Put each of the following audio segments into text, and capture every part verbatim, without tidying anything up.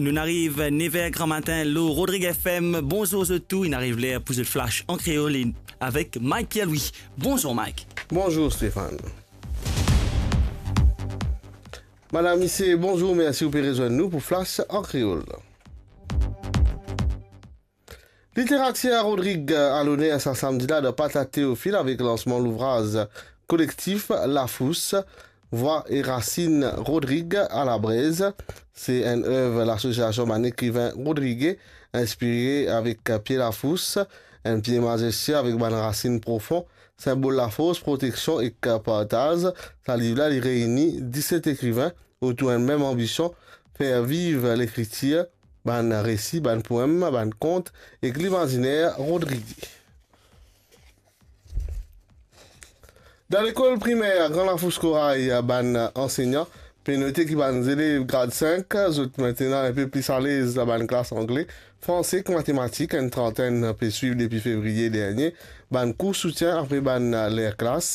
Nou'nn ariv nev er gramatin lor Rodrig F M. Bonzour zot tou, inn ariv ler pou zot flash an kreol e avek Mike Pierre-Louis. Bonzour Mike. Bonzour Stéphane. Madam, misie, bonzour, mersi ou pe rezwenn nou pou flash an kreol. Literatier Rodrig a loner sa samdi la dan Plas Teofil avek lansman louvraz kolektif Lafous, Vwa e Rasin Rodrig a Labrez. Se enn ev lasosiasion bann ekriven rodrige, inspire avek pie lafous, enn pie mazestie avek bann rasin profon, sinbol lafors, proteksion ek partaz. Sa liv la, li reini diset ekriven otour enn mem anbision, fer viv lekritir, bann resi, bann poem, bann kont ek limaziner rodrige. Dan lekol primer Gran Lafous Koray, bann ansegnan pe note ki bann zelev grad sink, zot aster inn enpe pli alez dan bann klas angle, franse ek matematik. Enn trantenn pe swiv depi fevriye dernie bann kour soutien apre bann ler klas.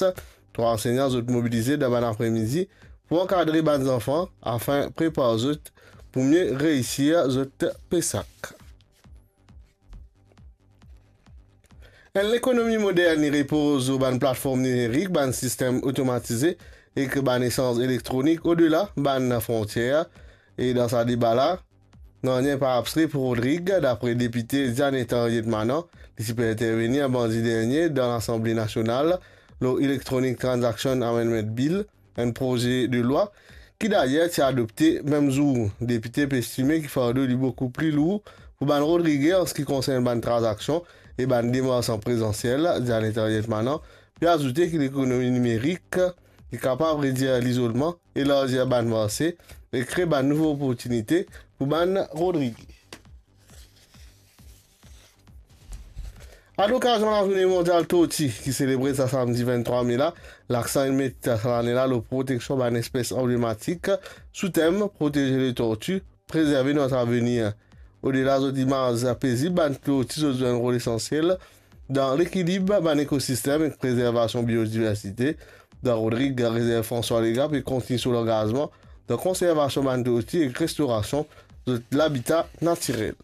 Trwa ansegnan zot mobilize dan bann apremidi pou ankadre bann zanfan afin prepar zot pou mie reisir zot PSAC. Enn lekonomi modern, li repoz lor bann platform nimerik, bann sistem otomatize ek bann esanz elektronik odela bann frontier. E dan sa deba la, nanye pa abstre pou Rodrig, dapre depite Diane Henriette Manant. Li ti pe intervenir mardi dernie dan Lasanble Nasional lor Electronic Transaction Amendment Bill, enn proze de lwa ki dayer ti adopte mem zour. Depite pe estime ki fardo li boukou pli lour pou bann rodrige an se ki konsern bann tranzaksion e bann demars an prezansiel. Diane Henriette Manant pe azoute ki lekonomi nimerik, li kapav redir lizolman, elarzi bann marse e kre bann nouvo oportinite pou bann rodrige. A lokazion Lazourne Mondial Torti ki selebre sa samdi venntrwa me la, laksan inn met sa lane la lor proteksion bann espes anblematik sou tem Protéger les tortues, préserver notre avenir. Odela zot imaz pezib, bann torti zot zwenn rol esansiel dan lekilib bann ekosistem ek prezervasion biodiversite. Dan Rodrig, Rezerv François Legain pe kontinie so langazman dan konservasion bann torti ek restorasion zot labita natirel.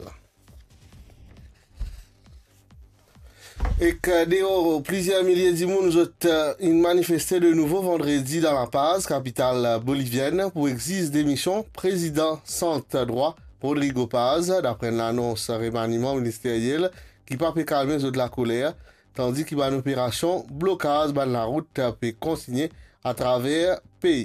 Ek, eh, deor, plizier milie dimoun zot, eh, inn manifeste de nouvo vandredi dan La Paz, kapital, eh, bolivienn, pou exiz demision prezidan Sant Drwa, Rodrigo Paz, dapre enn lanons remaniman ministeriel ki pa pe kalme zot lakoler, tandi ki bann operasion blokaz bann larout, eh, pe kontinie atraver pei.